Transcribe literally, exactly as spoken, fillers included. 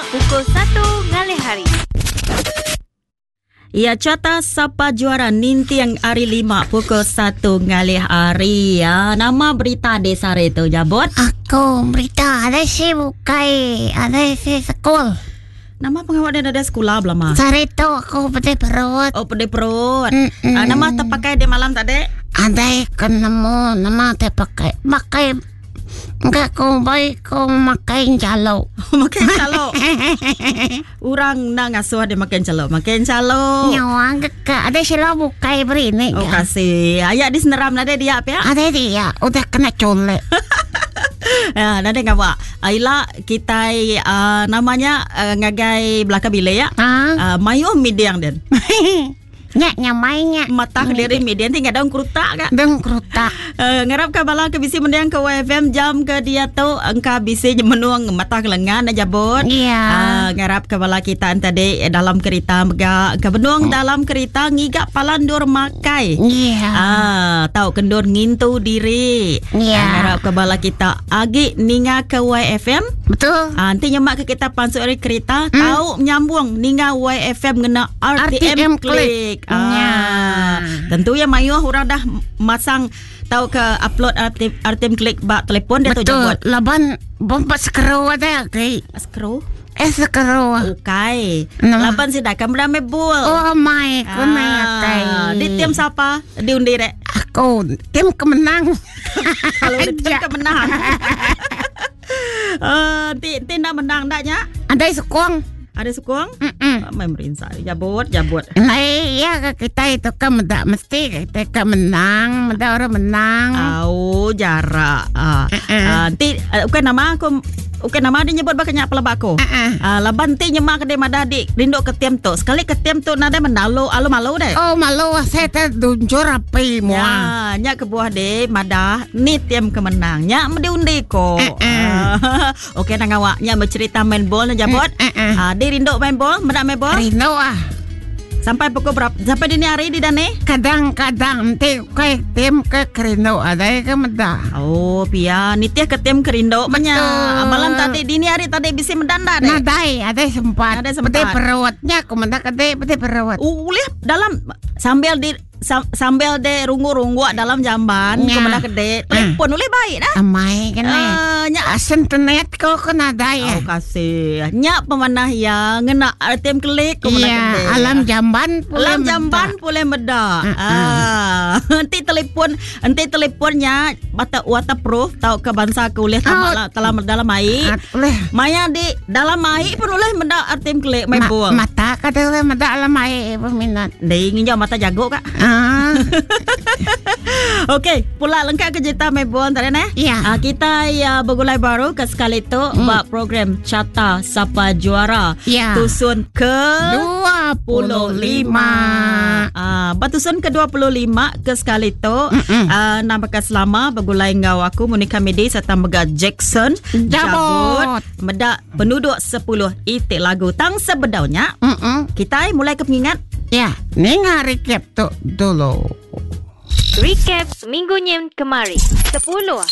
pukul satu ngalih hari. Ya, carta Sapa Juara ninting hari lima pukul satu ngalih hari. Ya, nama berita desa hari tu jabot? Aku berita ada si bukai, ada si sekul. Nama pengawal dia ada sekolah belama. Sehari tu aku pedih perut. Oh, pedih perut. Mm-mm. Ah, nama terpakai di malam tadi? Ada ketemu nama terpakai. Pakai enggak kau baik kau makan calo. Makan calo. Orang nak ngasuh dia makan calo. Makan calo. Nyawa ke ada sila bukai beri ni. Oh, kasih. Ayat di seneram nada dia apa ya? Ada dia udah kena colek. Ya, nanti ngawak. Aila kita uh, namanya uh, ngagai belakang bilik ya. Ha? Uh, mayuh midiang den. Nyak nyamainya. Mata kediri midian tinggal daun kerutak kak. Daun kerutak. Uh, ngarap ka bala ke bisi mendiang ke Y F M jam ke dia tu engka bisi menuang mata kelengan na jabut. Iya. Uh, ngarap ka bala kita tadi dalam kereta mega ke benung dalam kereta ngigak palandur makai. Iya. Ah, tau kendur ngintu diri. Iya. Uh, ngarap ka bala kita agi ninga ke Y F M. Betul. Ah, nanti nyemak ke kita pansuk dari kereta, Hmm. tau nyambung ninga Y F M ngena R T M R T M Klik. Klik. Ah, Ya. tentu ya mayuh orang dah masang tau ke upload R T M, R T M Klik bak telefon dia tu Betul. jemput. Laban bomba skru ada ke? Skru? Eh skru. Ukai. Nama. Laban sih dah kamera mebul. Oh my, aku ah, Di tim siapa? Diundi rek. Aku tim kemenang. Kalau di tim kemenang. Eh, ti ti nak menang daknya? Ada sukong. Ada sukong? Mm-mm. Main merinsa. Jabut, jabut. Nah, iya kita itu kan mendak mesti kita kan menang, mendak orang menang. Au jarak. Ah, Mm-mm. ah, ti bukan nama aku. Bukan nama dia nyebut bakanya pelabak aku. Uh-uh. Ah, laban ti nyemak ke dia madah dik rinduk ke tiam tu. Sekali ke tiam tu nadai mendalu alu malu deh. Oh malu saya terduncur api mua. Ya, nyak ke buah deh madah ni tiam kemenang. Nyak mesti undi ko. Uh-uh. Ah, okey nang awak nyak bercerita main bol nak jabut. Uh-uh. Ah, dia rinduk main bol, mendak main bol. Rindu ah. Sampai pukul berapa? Sampai dini hari di dane? Kadang-kadang nanti ke tim ke kerindu ada ke mendak. Oh, pia nitih ke tim kerindu banyak. Malam tadi dini hari tadi bisi mendanda deh. Nadai, ada sempat. Nadai sempat. Peti perutnya aku mendak kede peti perut. Ulih dalam sambil di sam, sambil de runggu-runggu dalam jamban Ya. ke mendak kede telefon ulih baik dah. Amai kena. Uh, nyak Asen tenet ko ko nadai ya. Oh kasih. Nyak pemanah ya ngena tim klik ke mendak Iya, kede. alam jamban pula Alam jamban boleh medak. Ah, nanti telefon, nanti telefonnya bata waterproof tau ke bangsa ke ulih tamak Oh. lah dalam dalam air. Boleh. Maya di dalam air pun ulih mendak artim klik main Ma- bol. mata kata ulih mendak dalam air peminat. Dei nginjau mata jago kak. Ah, Okey, pula lengkap ke cerita main bol tadi neh. Ya. Ah, kita ya bergulai baru ke sekali tu Mm. bab program Carta Sapa Juara. Ya. Tusun ke dua puluh lima. Ah, batusan ke dua puluh lima ke sekali tu. Ah, namakan selama bergulai ngau aku Monica Medi serta Mega Jackson Jabut. Medak penduduk sepuluh itik lagu tang sebedaunya. Mm-mm. Kita mulai ke pengingat. Ya, ni recap tu dulu. Recap minggu nyen kemari. Sepuluh.